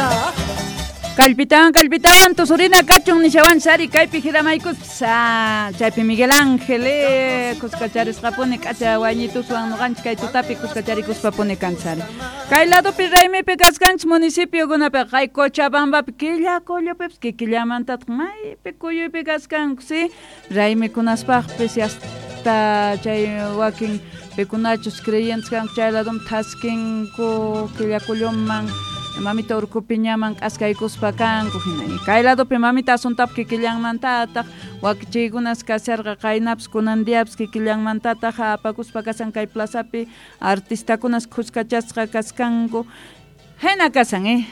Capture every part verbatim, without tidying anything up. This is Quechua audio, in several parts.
Risaq. Kallpitawan kallpitawan tusurina kachun nishawan sari kaypi hiramaykuspas ah, chaypi Miguel Ángel eh, kuskacharisqapuni k'acha wayñituswan nuqanchik kay tutapi kuskacharikuspa-puni kanchari kay ladopi raymipi kaskanchik municipiokunapiqa kay Cochabambapi Quillacollopipas kikillamantataq maypi kuyuypi kaskanku si raymikunaspaqpis hasta chay wakin pikunachus creyentes kanku chay ladoman thaskinku Quillacolloman mamita urkupiñaman k'askaykuspa kanku hina kay ladopi mamita Asuntapi kikillanmantataq wakichiykunas kasharqa qaynapas kunan diapas kikillanmantataq apakuspa kasan kay plazapi artistakunas khuskachasqa kaskanku hina kasan eh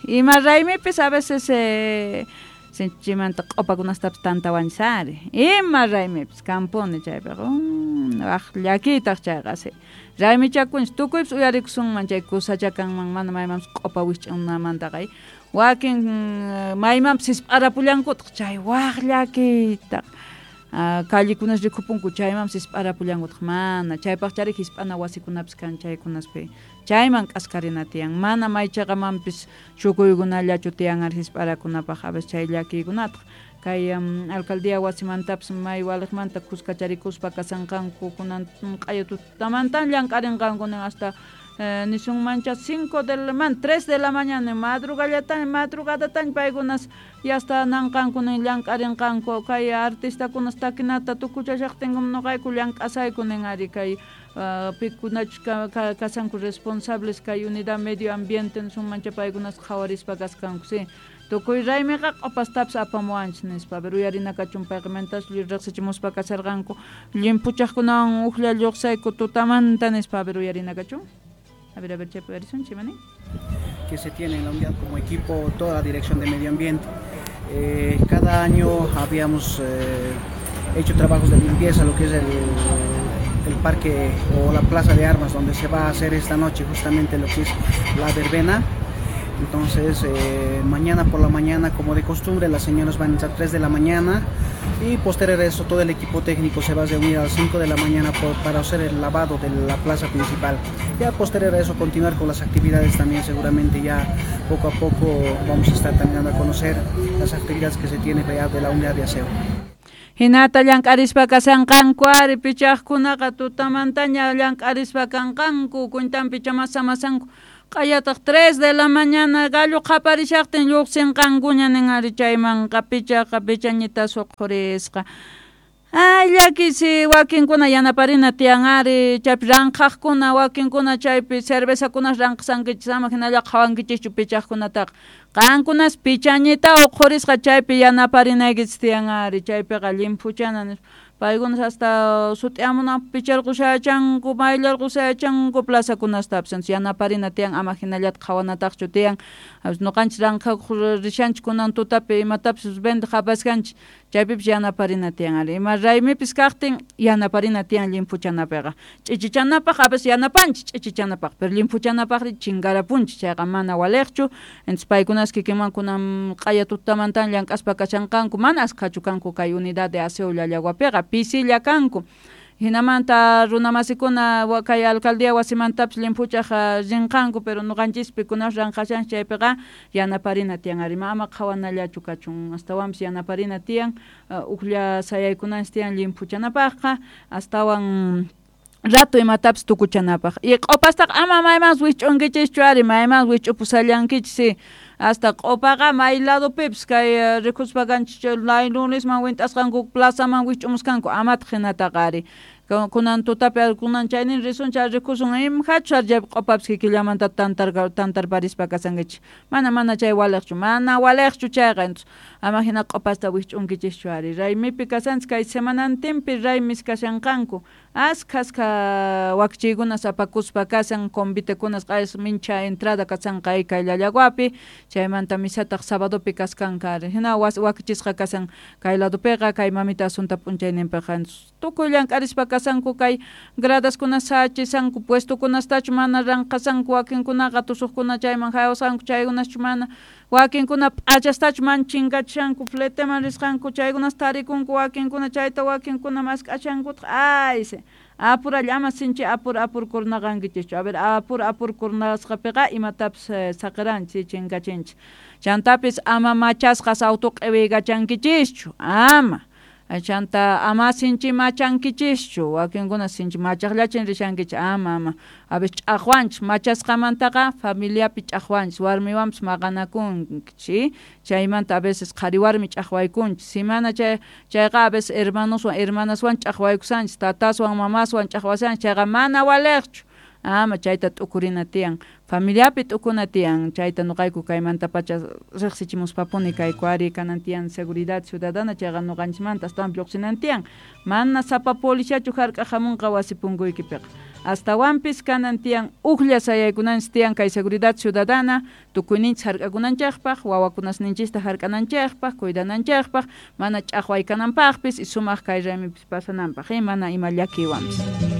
ima raymipis a veces eh, sinchimanta q'upakunastapis tantawanchis ari ima raymipis kampuni chaypiqa mm, waq llakiytaq chayqa si raymichakunchis tukuypis uyarikusunman chay kusachakanman mana maymanpis q'upa wisch'unamantaqa wakin maymanpis hisp'arapullankutaq chay waq llakiytaq callekunas rikupunku chaymanpis hisp'arapullankutaq mana chaypaqchari hisp'ana wasikunapis kan chaykunaspi chayman k'askarina tiyan mana maychaqamanpis chukuykunallachu tiyan ari hisp'arakunapaq a veces chay llakiykunataq kay alcaldía wasimantapis may waliqmanta kuskacharikuspa kasanqanku kunan q'aya tutamantan llank'arinqanku nin hasta eh, nisunmancha cinco de la man tres de la mañana madrugallataña madrugadataña paykunas yasta nanqanku nin llank'arinqanku kay artistakunas takinata tukuchashaqtinkum nuqayku llank'asayku nin ari kay uh, pikunachus ka, kasanku responsables kay unidad medio ambiente nisunmancha paykunas qhawarispa kaskanku si tukuy raymiqa q'upastapis apamuwanchis nispa pero uyarina kachun payqimantas riqsichimuspa kasharqanku llimpuchaqkunawan uklla lluqsayku tutamanta nispa a ver uyarina kachun a ver a ver chaypi uyarisunchik imani que se tiene en la unidad como equipo toda la dirección de medio ambiente. Eh, cada año habíamos eh, hecho trabajos de limpieza, lo que es el, el parque o la plaza de armas donde se va a hacer esta noche justamente lo que es la verbena. Entonces, eh, mañana por la mañana, como de costumbre, las señoras van a entrar tres de la mañana y posterior a eso todo el equipo técnico se va a reunir a las cinco de la mañana por, para hacer el lavado de la plaza principal. Ya posterior a eso continuar con las actividades también, seguramente ya poco a poco vamos a estar también dando a conocer las actividades que se tienen ya de la unidad de aseo. Hinata llank'arispa kasanqanku ari pichaqkunaqa tutamantaña llank'arispa kanqanku kuntanpi chamasamanku q'ayataq tres de la mañana gallo qaparishaqtin lluqsinqankuña nin ari chaymanqa pichaqa pichañita suqhurisqa ay llakisi wakinkuna yanaparina tiyan ari chaypi ranqhaqkuna wakinkuna chaypi cervezakunas ranqhasankichis ama hinalla qhawankichischu pichaqkunataqa qankunas pichañita uqhurisqa chaypi yanaparinaykichis tiyan ari chaypiqa llimphuchana nispa paykunas hasta sut'iamunanpaq picharqushachanku mayllarqushachanku plazakunastapis entonces yanaparina tiyan ama hinallata qhawanataqchu tiyan nuqanchik ranqhakuq rishanchik kunan tutapi imatapis vendeq apaskanchik chaypipis yanaparina tiyan ari ima raymipis kaqtin yanaparina tiyan llimphuchanapiqa ch'ichichanapaq a veces yanapanchik ch'ichichanapaq pero llimphuchanapaqri chinkarapunchik chayqa mana waliqchu entonces paykunas kikinman kunan q'aya tutamantan llank'aspa kashanqanku mana askhachu kanku kay unidad de aseo Llallaguapiqa pisilla kanku hinamanta runamasikuna kay alcaldía wasimantapis llimphuchaq rinqanku pero nuqanchispi kunas ranqashanchik chaypiqa yanaparina tiyan ari ama qhawanallachu kachun astawanpis yanaparina tiyan uklla sayaykunanchik tiyan llimphuchanapaqqa astawan rato imatapis tukuchanapaq y q'upastaqa ama maymanpis wisch'unkichischu ari maymanpis wisch'upusallankichis si hasta q'upaqa may ladopipis kay rikuspa kanchik laylunisman wint'asqanku plazaman wisch'umuskanku amataq hinataqa ari kunan tutapi kunan chaynin risunchik rikusun imhachu ari chaypi q'upapis kikillamanta tantar tantarparispa kasankichik mana mana chay waliqchu mana waliqchu chayqa entonces ama hina q'upasta wisch'unkichischu ari raymipi kasanchik kay semanantinpi raymis kashanqanku askha askha wakichiykunas apakuspa kasan convitekunas q'ayas mincha entrada kasanqa kay Llallaguapi chaymanta misataq sabadopi kaskanqa ari hina wakichisqa kasan kay ladopiqa kay mamita Asunta p'unchayninpiqa tukuy llank'arispa kasanku kay gradaskunas sachisanku puestokunastachu mana ranqhasanku wakinkunaqa tusuqkuna chayman haywasqanku chaykunaschu mana wakinkuna p'achastachu mana chinkachishanku fleteman risqanku chaykunas tarikunku wakinkuna chayta wakinkuna mask'ashankutaq ay Apuralla ama sinchi apur apur kurnaqankichischu. A ver, apur apur kurnasqapiqa imatapis saqiranchis chinkachinchis. Chantapis ama machasqas auto q'iwiykachankichischu, ama. Chanta ama sinchi machankichischu, wakinkuna sinchi machaqllachin rishankichis, ama ama. A veces ch'aqwanchis, machasqamantaqa familiapi ch'aqwanchis, warmiwanpis maqanakunchis, chaymanta a veces qhari warmi ch'aqwaykunchis, si mana chay chayqa a veces hermanoswan hermanaswan ch'aqwaykusanchis, tataswan mamaswan ch'aqwasanchis, chayqa mana waliqchu. Ama chayta t'ukurina tiyan, familiapi t'ukuna tiyan, chayta nuqayku kaymantapacha riqsichimuspapuni kayku ari kanan tiyan seguridad ciudadana, chayqa nuqanchismanta astawan lluqsinan tiyan, mana sapa policiachu hark'aq hamunqa wasi punkuykipiqa. Astawanpis kanan tiyan uklla sayaykunanchis tiyan kay seguridad ciudadana tukuyninchis hark'akunanchikpaq, wawakunasninchista hark'ananchikpaq, cuidananchikpaq, mana ch'aqway kananpaqpis y sumaq kay raymipis pasananpaq, mana ima llakiywanpis.